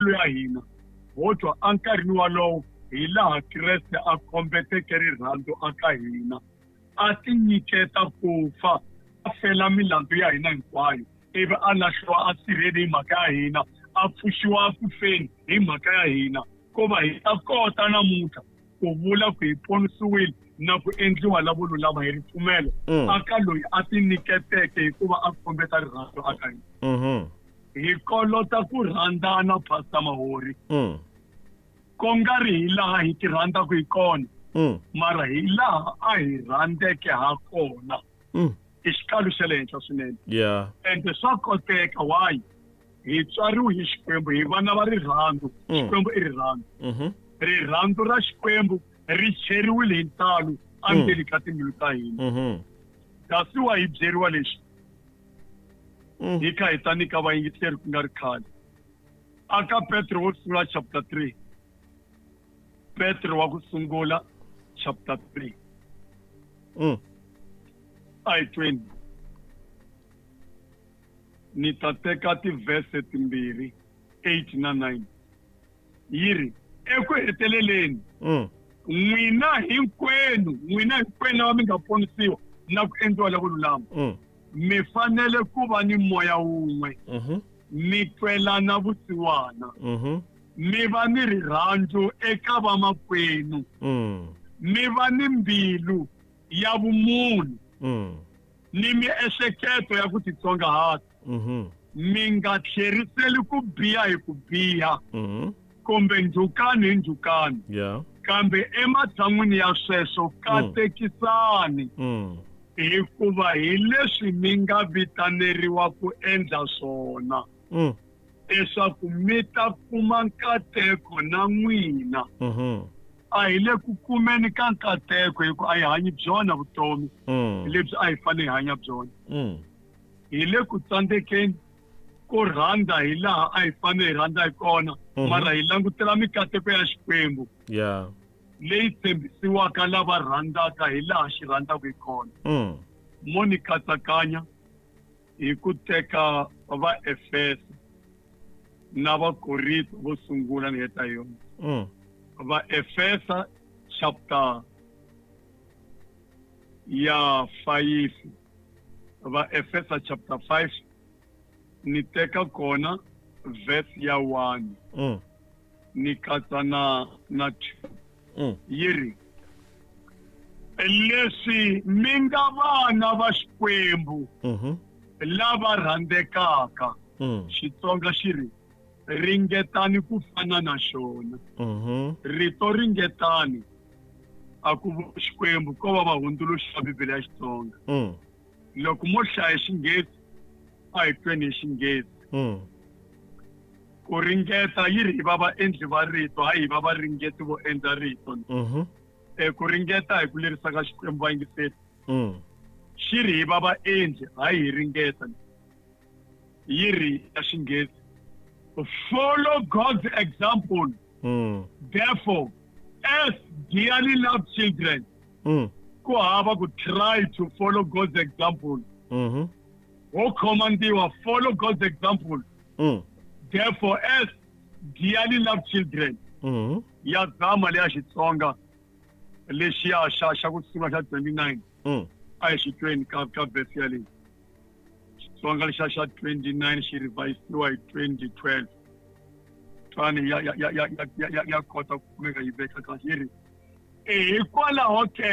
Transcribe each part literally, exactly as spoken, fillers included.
milandzu ya hina ho twa enkarhini walowo hi laha Kreste a kombeteke rirhandzu aka hina a tinyiketa ku fa a fela milandzu ya hina hinkwayo ivi a lahliwa a sirheni hi mhaka ya hina a pfuxiwa ku feni hi mhaka ya hina ko va hi ta kota namuntlha ku vula ku hi ponisiwile na ku endliwa lavo lulama hi ripfumelo aka loyi a tinyiketeke hikuva a kombeta rirhandzu aka hina hi kolota ku rhandzana Pastor Mahori ko nga ri hi laha hi ti rhandzaka hi kona mara hi laha a hi rhandzeke ha kona i xikalu xa le henhla swinene yeah ende swa koteka why hi tswariwe hi Xikwembu hi vana va rirhandzu Xikwembu i rirhandzu rirhandzu ra Xikwembu ri cheriwile hi ntalo endzeni ka timbilu ta hina kasi wa hi byeriwa leswi hi kha hi ta nyika vayingiseri ku nga ri khale aka Petro wo sungula chapter three Petro wa ku sungula chapter three a hi tweni ni ta teka tivhese timbirhi eight na nine yi ri eku heteleleni n'wina hinkwenu n'wina hinkwenu lava mi nga ponisiwa na ku endliwa lavo lulama mi fanele ku va ni moya wun'we mi twelana vusiwana mi va ni rirhandzu eka vamakwenu mi va ni mbilu ya vumunhu ni miehleketo ya ku titsongahata mi nga tlheriseli ku biha hi ku biha kumbe ndzhukano hi ndzhukano kambe ematshan'wini ya sweswo katekisani hikuva hi leswi mi nga vitaneriwa ku endla swona leswaku mi ta kuma nkateko na n'wina a hi le ku kumeni ka nkateko hikuva a hi hanyi byona vutomi lebyi a hi fanele hi hanya byona hi le ku tsandzekeni ko rhandza hi laha a hi fanele hi rhandza hi kona mara hi langutela mikateko ya Xikwembu yeah leyi tshembisiwaka lava rhandzaka hi laha xi rhandzaka hi kona mo ni katsakanya hi ku teka va Efesa na va Korinto vo sungula ni heta yona va Efesa chapter ya five va Efesa chapter five ni teka kona verse ya one ni katsa na na two yi ri leswi mi nga vana va Xikwembu lava rhandzekaka Xitsonga xi ri ringetani ku fana na xona rito ringetani a ku Xikwembu ko va va hundzuluxa Bibele ya Xitsonga loko mo hlaya Xinghezi a hi tweni hi Xinghezi ku ringeta yi ri hi va vaendli va rito hayi hi va varingeti vo endla rito e ku ringeta hi ku lerisa ka Xikwembu vayingiseri xi ri hi va vaendli hayi hi ringeta yi ri ya Xinghezi follow God's example therefore as dearly loved children ku hava ku try to follow God's example ho khomandiwa follow God's example therefore as dearly loved children ya zama leya Xitsonga lexiya xa xa ku sungula xa twenty-nine a hi xitweni ka ka verse yaleyi Xitsonga lexiya xa twenty-nine xi revisiwa hi twenty twelve twani ya ya ya ya ya ya kota ku kumeka yi veka kahle yi ri hikwalaho ke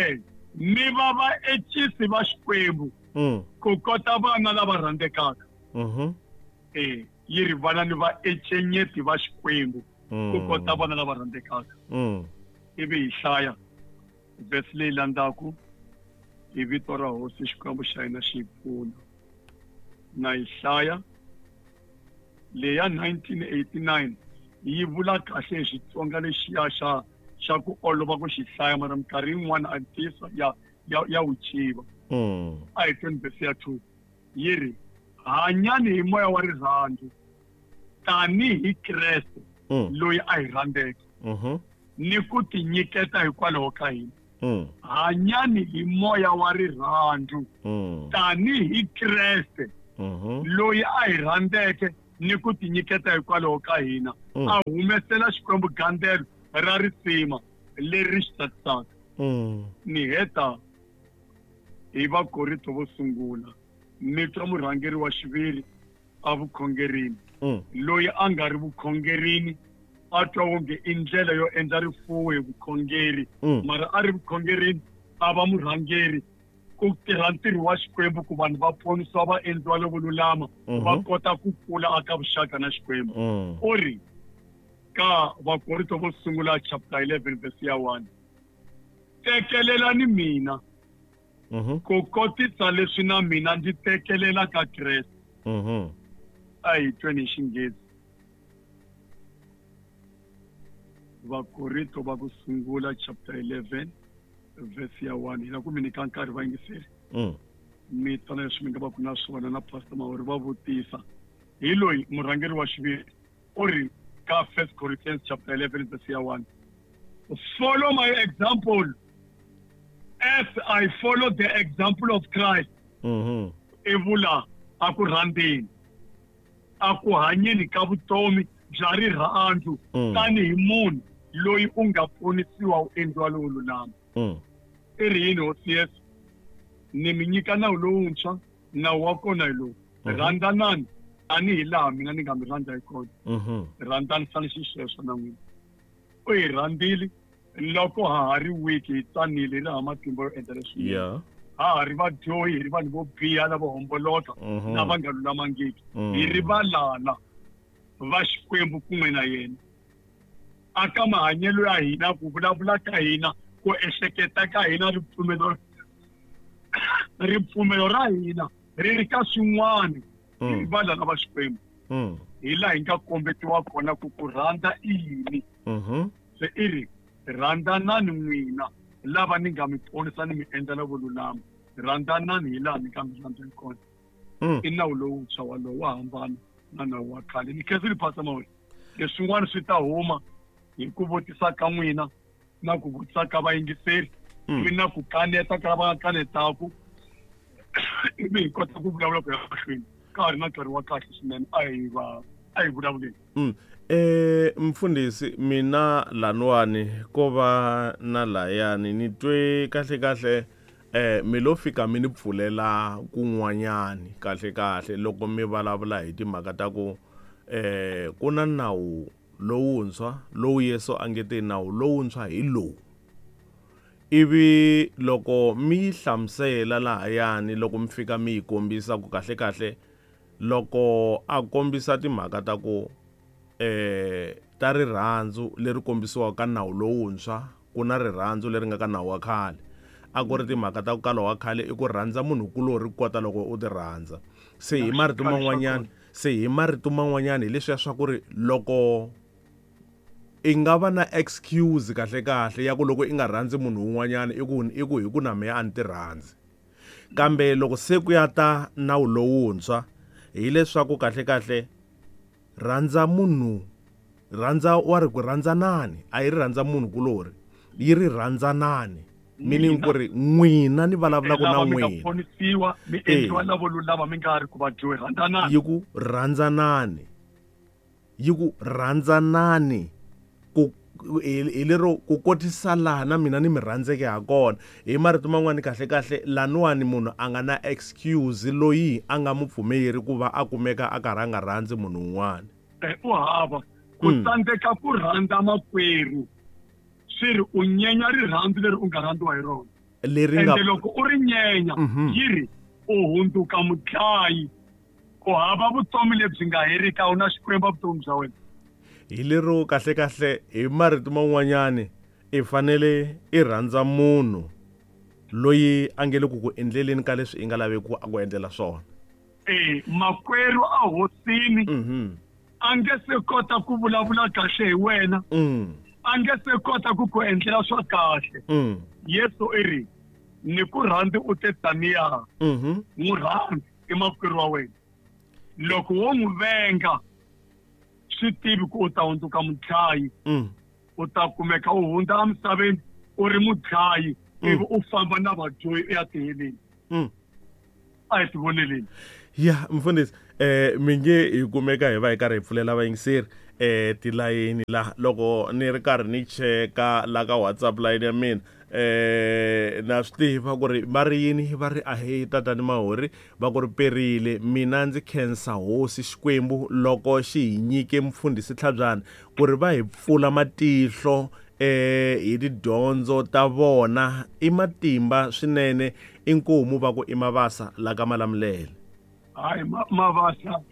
mi va vaencisi va Xikwembu ku kota vana lava rhandzekaka e yi ri vana ni vaencenyeti va Xikwembu ku kota vana lava rhandzekaka ivi hi hlaya verse leyi landzaku hi vito ra Hosi Xikwembu xa hina xi hi pfuna na yi hlaya leya nineteen eighty-nine yi vula kahle hi Xitsonga lexiya xa xa ku olova ku xi hlaya mara minkarhi yin'wana a ntiyiso ya ya ya wu civa a hi tweni verse ya two yi ri hanyani hi moya wa rirhandzu tanihi Kreste loyi a hi rhandzeke ni ku tinyiketa hikwalaho ka hina hanyani hi moya wa rirhandzu tanihi Kreste loyi a hi rhandzeke ni ku tinyiketa hikwalaho ka hina a humesela Xikwembu gandzelo ra risima leri xi tsakisaka. Ni heta hi Vakorinto vo sungula mi twa murhangeri wa xiviri a vukhongerini loyi a nga ri vukhongerini a twa wonge i ndlela yo endla rifuwo hi vukhongeri mara a ri vukhongerini a va murhangeri ku tirha ntirho wa Xikwembu ku vanhu va ponisiwa va endliwa lovo lulama va kota ku kula aka vuxaka na Xikwembu. U ri ka Vakorinto vo sungula chapter eleven verse ya one, tekelelani mina ku kotisa leswi na mina ndzi tekelela ka Kreste. A hi tweni hi Xinghezi. Vakorinto va ku sungula chapter eleven verse ya one. Hi la ku mi nyika nkarhi vayingiseri mi twana leswi mi nga va ku na swona na Pastor Mahori va vutisa hi loyi murhangeri wa xiviri u ri ka First Corinthians chapter eleven verse ya one, follow my example as I follow the example of Christ. I vula a ku rhandzeni a ku hanyeni ka vutomi bya rirhandzu tanihi munhu loyi u nga ponisiwa u endliwa lowo lulama. I ri yini Hosi Yesu? Ni mi nyika nawu lowuntshwa, nawu wa kona hi lowu: rhandzanani tanihi laha mina ni nga mi rhandza hi kona, rhandzanisani xisweswo na n'wina. U hi rhandzile loko ha ha ri weak, hi tsanile, hi ri hava matimba yo endla leswinene, ha ha ri vadyohi, hi ri vanhu vo biha lavo homboloka lava nga lulamangiki, hi ri valala va Xikwembu kun'we na yena. Aka mahanyelo ya hina, ku vulavula ka hina, ku ehleketa ka hina, ripfumelo ripfumelo ra hina ri ri ka swin'wana, hi ri valala va Xikwembu. Hi laha hi nga kombetiwa kona ku ku rhandza i yini. Se i ri rhandzanani n'wina lava ni nga mi ponisa ni mi endla lavo lulama, rhandzanani hi laha ni nga mi rhandza hi kona. I nawu lowuntshwa walowo wa hambana na nawu wa khale. Ni khensile Pastor Mahori, leswin'wana swi ta huma hi ku vutisa ka n'wina na ku vutisa ka vayingiseri ivi na ku kaneta ka lava nga kanetaku, ivi hi kota ku vulavula ku ya mahlweni ka ha ri na nkarhi wa kahle swinene. A hi va a hi vulavuleni. Eh mfundhisi, mina laniwani ko va na layani ni twe kahle kahle eh mi lo fika mi ni pfulela kun'wanyani kahle kahle loko mi vulavula hi timhaka ta ku eh ku na nawu lowuntshwa lowu Yesu a nge te nawu lowuntshwa hi lowu. Ivi loko mi yi hlamusela lahayani loko mi fika mi yi kombisa ku kahle kahle loko a kombisa timhaka ta ku eh ta rirhandzu leri kombisiwaka ka nawu lowuntshwa ku na rirhandzu leri nga ka nawu wa khale, a ku ri timhaka ta ku kala wa khale i ku rhandza munhu kulorhi ku kota loko u ti rhandza. Se hi marito man'wanyana se hi marito man'wanyana hi leswiya swa ku ri loko i nga va na excuse kahle kahle ya ku loko i nga rhandzi munhu un'wanyana i ku i ku hi ku na mehe a ni ti rhandzi. Kambe loko se ku ya ta nawu lowuntshwa hileswaku kahle kahle rhandza munhu, rhandza wa ri ku rhandzanani, a yi ri rhandza munhu kulorhi, yi ri rhandzanani, meaning ku ri n'wina ni vulavulaka na n'wina ponisiwa mi endliwa lavo lulama mi nga ri ku vadyohi, rhandzanani. Yi ku rhandzanani, yi ku rhandzanani ku hi lero ku kotisa laha na mina ni mi rhandzeke ha kona. Hi marito man'wani kahle kahle laniwani munhu a nga na excuse loyi a nga mu pfumeri ku va a kumeka a karhi a nga rhandzi munhu un'wana. U hava ku tsandzeka ku rhandza makwerhu swi ri u nyenya rirhandzu leri u nga rhandziwa hi rona leri nga ende loko u ri nyenya yi ri u hundzuka mudlayi, ku hava vutomi lebyi nga heriki, a wu na Xikwembu vutomi bya wena. Hi lero kahle kahle hi marito man'wanyani i fanele i rhandza munhu loyi a nge le ku ku endleleni ka leswi i nga laveki ku a ku endlela swona. Eh makwerhu a hosini a nge se kota ku vulavula kahle hi wena, a nge se kota ku ku endlela swa kahle. Yesu i ri ni ku rhandzi u te taniya, n'wi rhandzi i makwerhu wa wena. Loko wo n'wi venga swi tivi ku u ta hundzuka mudlayi, u ta kumeka u hundza emisaveni u ri mudlayi ivi u famba na vadyohi u ya tiheleni. A hi tivoneleni. Ya mfundhisi eh mi nge hi kumeka hi va hi karhi hi pfulela vayingiseri eh tilayini la loko ni ri karhi ni cheka la ka WhatsApp line ya mina eh na swi tiva ku ri va ri yini va ri ahe tatani Mahori va ku ri perile mina ndzi khensa hosi Xikwembu loko xi hi nyike mfundhisi Tlhabyana ku ri va hi pfula matihlo eh hi tidyondzo ta vona i matimba swinene inkomu va ku i Mavasa la ka Malamulele. Hayi Mavasa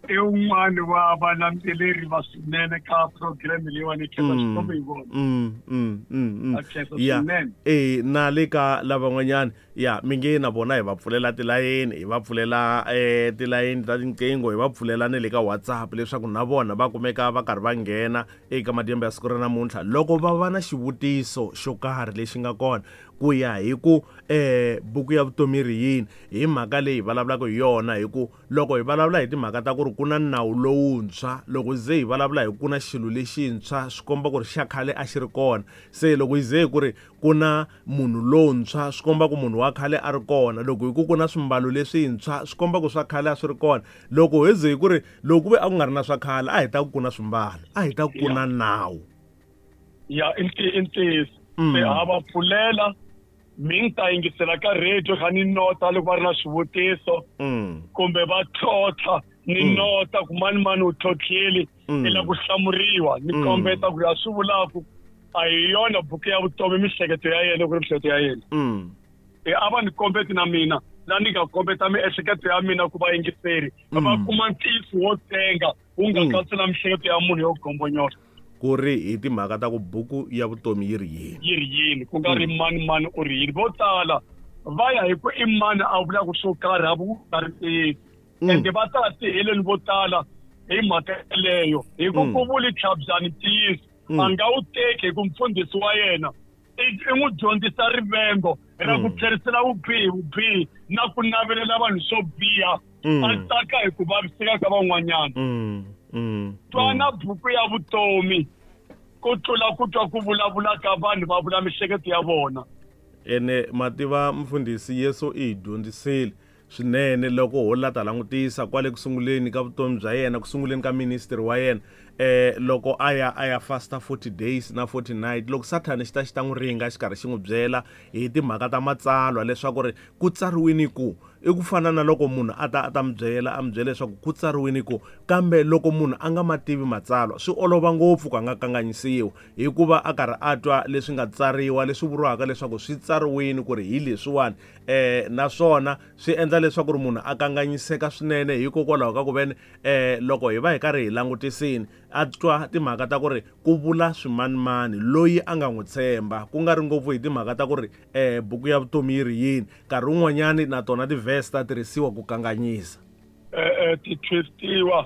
i un'wana wa valandzeleri va swinene ka program leyiwani khensa Xikwembu hi vona. Mm mm mm. Ya eh na le ka lavan'wanyana ya mi nge na vona hi va pfulela tilayeni hi va pfulela eh tilayeni ta tinqingho hi va pfulela ne le ka WhatsApp leswaku na vona va kumeka va karhi va nghena eka madyambu ya siku ra namuntlha loko va va na xivutiso xo karhi lexi nga kona ku ya hi ku eh buku ya vutomi ri yini hi mhaka leyi vulavulaka hi yona hi ku loko hi vulavula hi timhaka ta ku ri ku na nawu lowuntshwa loko ze hi vulavula hi ku na xilo lexintshwa swi komba ku ri xa khale a xi ri kona se loko hi ze hi ku ri ku na munhu lontshwa swi komba ku munhu wa khale a ri kona loko hi ku ku na swimbalo leswintshwa swi komba ku swa khale a swi ri kona loko hi ze hi ku ri loko ku ve a ku nga ri na swa khale a hi ta ku ku na swimbalo a hi ta ku ku na nawu ya i ntiyiso se ha va pfulela mi ta yingisela ka radio kha ni nota loko va ri na swivutiso kumbe va tlhotlha ni nota ku mani mani u tlhotlheli i la ku hlamuriwa ni kombeta ku ya swi vulaku a hi yona buku ya vutomi mihleketo ya yena ku ri mihleketo ya yena e a va ni kombeti na mina la ni nga kombeta miehleketo ya mina ku va yingiseri va kuma ntiyiso wo tenga wu nga katsi na mihleketo ya munhu yo gombonyoka ku ri hi timhaka ta ku buku ya vutomi yi ri yini yi ri yini ku nga ri mani mani u ri yini vo tala va ya hi ku i mani a vulaka swo karhi a ku nga ri ntiyiso ende va ta tiheleni vo tala hi mhaka yeleyo hi ku ku vuli Tlhabyani ntiyiso a nga wu teki hi ku mfundhisi wa yena i n'wi dyondzisa rivengo ra ku tlherisela vubihi vubihi na ku navelela vanhu swo biha a tsaka hi ku vaviseka ka van'wanyana. Twana buku ya vutomi ku tlula ku twa ku vulavula ka vanhu va vula mihleketo ya vona. Ene mativa mfundhisi Yesu i hi dyondzisile swinene loko ho la ta langutisa kwale kusunguleni ka vutomi bya yena kusunguleni ka ministry wa yena eh loko a ya a ya fasta forty days na forty night loko Sathane xi ta xi ta n'wi ringa xi karhi xi n'wi byela hi timhaka ta matsalwa leswaku ri ku tsariwini ku i ku fana na loko munhu a ta a ta mi byela a mi byela leswaku ku tsariwini ku kambe loko munhu a nga ma tivi matsalwa swi olova ngopfu ku a nga kanganyisiwa hikuva a karhi a twa leswi nga tsariwa leswi vuriwaka leswaku swi tsariwini ku ri hi leswiwani eh naswona swi endla leswaku ri munhu a kanganyiseka swinene hikokwalaho ka ku veni eh loko hi va hi karhi hi langutisini a twa timhaka ta ku ri ku vula swimanimani loyi a nga n'wi tshemba ku nga ri ngopfu hi timhaka ta ku ri eh buku ya vutomi yi ri yini nkarhi wun'wanyani na tona ti-verse ta tirhisiwa ku kanganyisa eh ti twistiwa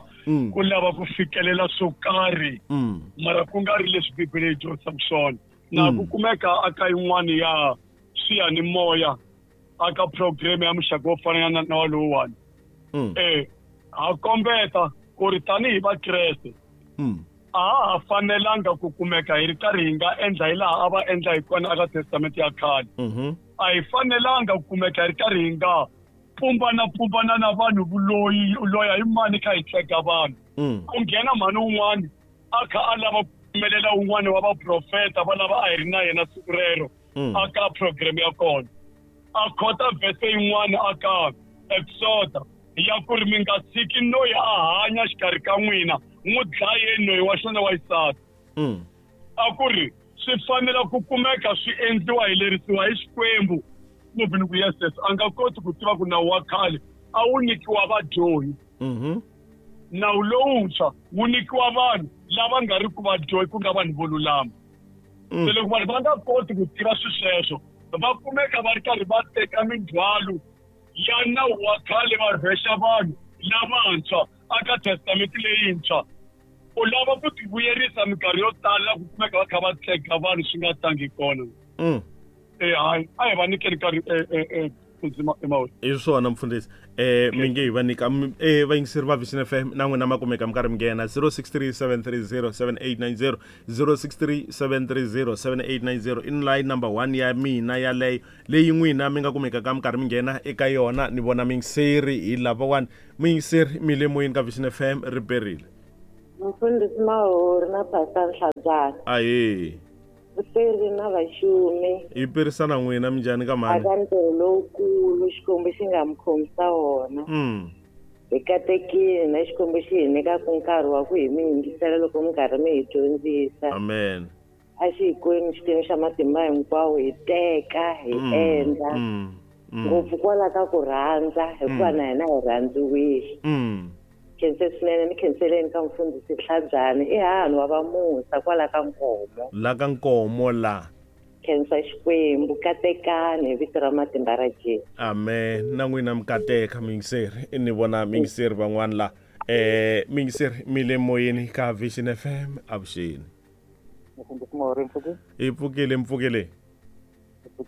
ku lava ku fikelela swo karhi mara ku nga ri leswi Bibele yi dyondzisaka swona na ku kumeka aka yin'wana ya swiyanimoya aka program ya muxaka wo fana na na walowuwani eh ha kombeta ku ri tanihi Vakreste a ha fanelanga ku kumeka hi ri karhi hi nga endla hi laha a va endla hi kona aka Testamente ya khale a hi fanelanga ku kumeka hi ri karhi hi nga pumbana pumbana na vanhu vuloyi loya hi mani kha hi tleka vanhu ku nghena mhani wun'wani a kha a lava ku pfumelela wun'wani wa vaprofeta va lava a hi ri na yena siku rero aka program ya kona a khota vhese yin'wana aka Exoda ya ku ri mi nga tshiki noyi a hanya xikarhi ka n'wina n'wi dlayeni noyi wa xona wa xisati a ku ri swi fanele ku kumeka swi endliwa hi lerisiwa hi Xikwembu ngopfu ku yes yes a nga koti ku tiva ku nawu wa khale a wu nyikiwa vadyohi nawu lowuntshwa wu nyikiwa vanhu lava nga ri ku vadyohi ku nga vanhu vo lulama se loko vanhu va nga koti ku tiva swi sweswo va kumeka va ri karhi va teka mindzhwalo ya nawu wa khale va rhwexa vanhu lavantshwa aka Testamente leyintshwa u lava ku ti vuyerisa minkarhi yo tala ku kumeka va kha va tshega vanhu swi nga tangi kona eh hayi a hi va nyikeni nkarhi Mfundhisi Mahori. I swona mfundhisi. Eh mi nge hi va nyika eh vayingiseri va Vision F M na n'wina ma kumeka mi karhi mi nghena zero six three seven three zero seven eight nine zero zero six three seven three zero seven eight nine zero in line number one ya mina yaleyo leyi n'wina mi nga kumekaka mi karhi mi nghena eka yona. Ni vona miyingiseri hi lavawani. Miyingiseri mi le moyeni ka Vision F M ri perile. Mfundhisi Mahori na Pastor Nhlabyana. Ahee. Vuperi na vaxumi. Hi perisana n'wina minjhani ka mhani? Aka ntirho lowukulu Xikwembu xi nga mi khomisa wona. Mm. Hi katekile na Xikwembu xi hi nyikaka nkarhi wa ku hi mi yingisela loko mi karhi mi hi dyondzisa. Amen. A xi hi kweni Xikwembu xa matimba hinkwawo hi teka hi endla. Ngopfu kwala ka ku rhandza hikuva na hina hi rhandziwile. Mm. Khense swinene ni khenseleni ka mfundhisi Nhlabyana i hahani wa vamusa kwala ka Nkomo. La ka Nkomo la. Khensa Xikwembu katekani hi vito ra matimba ra Jesu. Amen. Na n'wina mi kateka miyingiseri. Ni vona miyingiseri van'wana la. Eh miyingiseri mi le moyeni ka Vision F M avuxeni. Mfundhisi Mahori mpfukile? Hi pfukile mpfukile.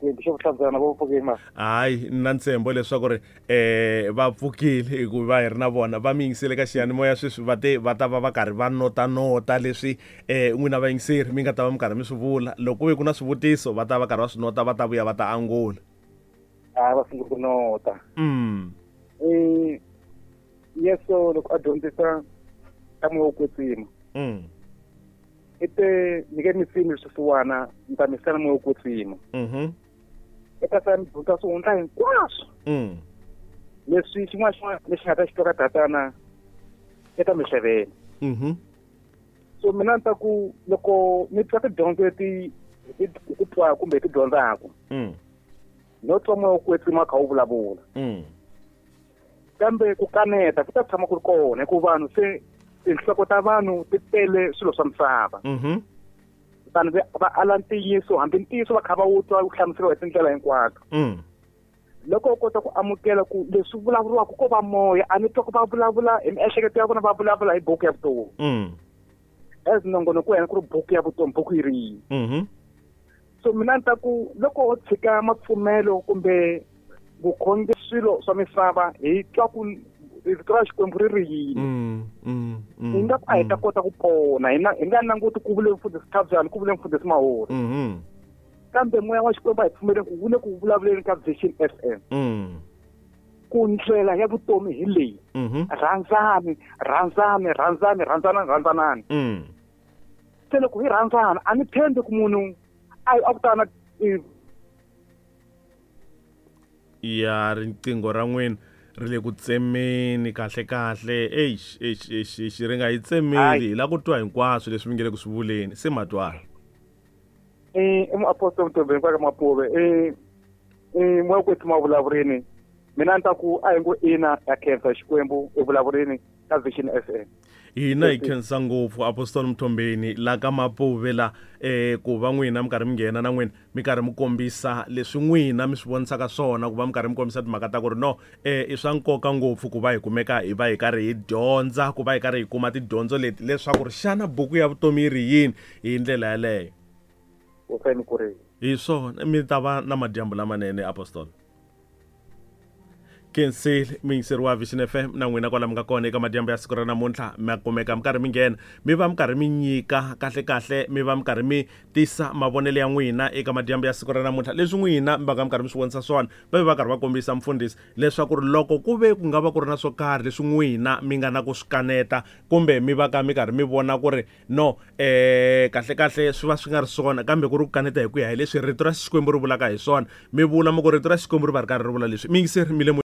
Bishop Nhlabyana va pfukile ma. Hayi na ntshembo leswaku ri eh va pfukile hikuva hi ri na vona va mi yingisele ka xiyanimoya sweswi va te va ta va va karhi va nota nota leswi eh n'wina vayingiseri mi nga ta va mi karhi mi swi vula. Loko ku ve ku na swivutiso va ta va karhi va swi nota va ta vuya va ta angula. A va sungula ku nota. Mm. Eh Yesu loko a dyondzisa ta moya wo kwetsima. Mm. Ete ni nge mi simi swisiwana ni ta mi sela moya wo kwetsima. Mhm. Eka ta mi dyondza swihundla hinkwaswo. Mm. Leswi xin'wana xin'wana lexi nga ta xi twa ka tatana eka mi hlevela. Mhm. So mina ni ta ku loko mi twa tidyondzo leti hi ti twaka kumbe hi ti dyondzaka. Mm. No twa moya wo kwetsima kha wu vulavula. Mm. Kambe ku kaneta ku ta tshama ku ri kona hikuva vanhu se tinhloko ta vanhu ti tele swilo swa misava. Mhm. Vanhu va ala ntiyiso hambi ntiyiso va kha va wu twa wu hlamuseriwa hi tindlela hinkwato. Mm. Loko u kota ku amukela ku leswi vulavuriwaka ko va moya a ni twa ku va vulavula hi miehleketo ya vona va vulavula hi buku ya vutomi. Mm. As nongonoko wa hina ku ri buku ya vutomi buku yi ri yini. Mhm. So mina ni ta ku loko ho tshika mapfumelo kumbe vukhongeri swilo swa misava hi twa ku rito ra Xikwembu ri ri yini. Mm, mm, mm, hi nga ku a hi ta kota ku pona hi na hi nga languti ku vule mfundhisi Nhlabyana ku vule mfundhisi Mahori. Mhm. Kambe moya wa Xikwembu a hi pfumeleni ku wu le ku vulavuleni ka Vision F M. Mm. Ku ndlela ya vutomi hi leyi. Mhm. Rhandzani, rhandzani, rhandzani, rhandzanani, rhandzanani. Mm. Se loko hi rhandzana a ni tshembi ku munhu a a ku ta na ya riqingho ra n'wina ri le ku tsemeni kahle kahle. Eish eish eish eish ri nga yi tsemeli hi la ku twa hinkwaswo leswi mi nge le ku swi vuleni se matwala. Eh i muapostoli Mtombeni kwaka Mapuve. Eh eh moya kwetsima vulavurini mina ni ta ku a hi ngo ina ya khensa Xikwembu evulavurini ka Vision F M. Hina hi khensa ngopfu Apostoli Mtombeni la ka Mapuve la eh ku va n'wina mi karhi mi nghena na n'wina mi karhi mi kombisa leswi n'wina mi swi vonisaka swona ku va mi karhi mi kombisa timhaka ta ku ri no eh i swa nkoka ngopfu ku va hi kumeka hi va hi karhi hi dyondza ku va hi karhi hi kuma tidyondzo leti leswaku ri xana buku ya vutomi yi ri yini hi ndlela yaleyo. Hi swona mi ta va na madyambu lamanene Apostoli. Kensile miyingiseri wa Vision F M na n'wina kwala mi nga kona eka madyambu ya siku ra namuntlha mi kumeka mi karhi mi nghena mi va mi karhi mi nyika kahle kahle mi va mi karhi mi tisa mavonelo ya n'wina eka madyambu ya siku ra namuntlha leswi n'wina mi va ka mi karhi mi swi vonisa swona va va karhi va kombisa mfundhisi leswaku ri loko ku ve ku nga va ku ri na swo karhi leswi n'wina mi nga na ku swi kaneta kumbe mi va ka mi karhi mi vona ku ri no eh kahle kahle swi va swi nga ri swona kambe ku ri ku kaneta hi ku ya hi leswi rito ra Xikwembu ri vulaka hi swona mi vula mi ku rito ra Xikwembu ri va ri karhi ri vula leswi miyingiseri mi le